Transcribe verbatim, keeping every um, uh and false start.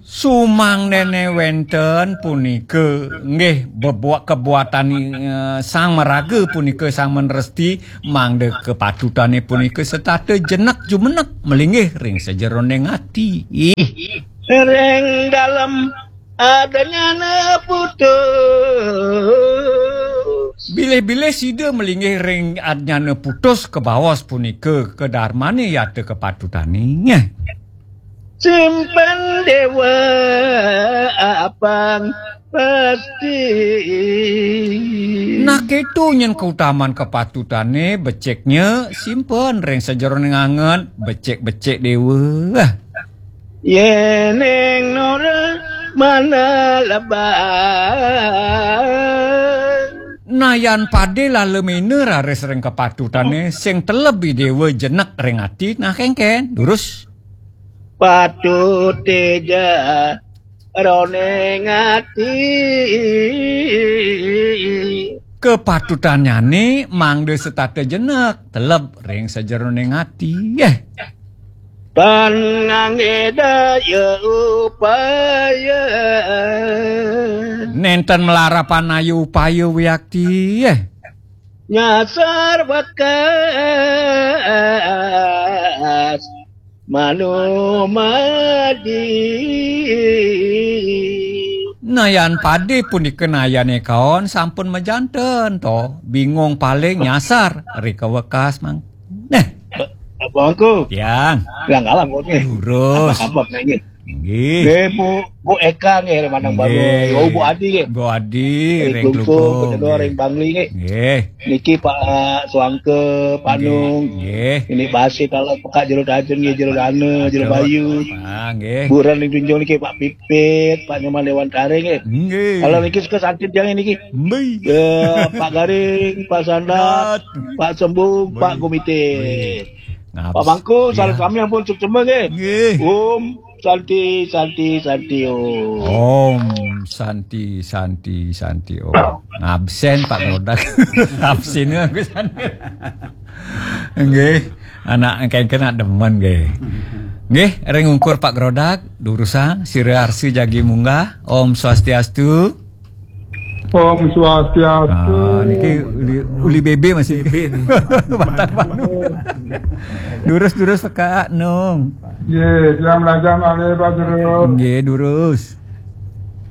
Sumangdene wenten punika nggih bebuat kebuatan, eh, sang maraga punika sang meneresti mangda kepatutane punika setata jenek jumenek melinggih ring sajeroning ati. Ih. Ring dalem adanyana putus. Bilih-bilih sida melinggih ring adnyana putus kabaos punika kadarmane yata kapatutane. Simpen dewa apang pasti. Nah, keto nyen kautaman kapatutane beciknya simpen ring sajeroning angen becik-becik dewa. Yening nora mana lebar. Nah, yan pade lala mena raris ring kapatutane sing teleb idewa jenek ring ati, nah kengken, durus. Patut teja roning ati. Kapatutannyane mangda setata jenek, teleb ring sajeroning ati. Eh. Tan ngangge daya upaya. Nenten melarapan ayu upaya wiakti. Eh. Nyasar bakas manumadi. Nayan pade punika nayane kaon sampun majanten to. Bingung paling nyasar ri kawekas mang. Neh. Abangku. Yang. Bilang kalah buatnya. Lurus. Apa-apa nanya. Nggih. Nggih, Bu, Bu Eka nggih, Manang Baru. Nggih. Oh, Bu Adi nggih. Bu Adi, ring Klumpuk, Klumpuk, kedua nggih. Ring Bangli nggih. Nggih. Niki Pak, eh, Suangke, Pak Nung. Nggih. Ini Basi kalau Pekak Jero Tajen nggih, Jero Dana, Jero Bayu. Ah, nggih. Buran ring Tunjung niki Pak Pipit, Pak Nyoman Dewan Taring nggih. Nggih. Kalau niki suka santit yang niki. Mbe. Ya, Pak Garing, Pak Sandat, Pak Sembung, Pak Gumite. Pak Mangku, salam sami ampun suksema nggih. Nggih. Om Santi, Santi, Santi, Om. Om Santi, Santi, Santi, Om. Ngabsen Pak Grodak. Absen aku sana. Nggih. Anak engken kena demen nggih. Nggih, ring ungkur Pak Grodak, durusang, sira arsi jagi munggah. Om Swastiastu. Om Swastiastu. Ah, niki uli, uli B B masih. B B nih. Batang Banu. Durus-durus Pak Nung. Nggih, tiang belajar malih, Pak Guru. Nggih, durus.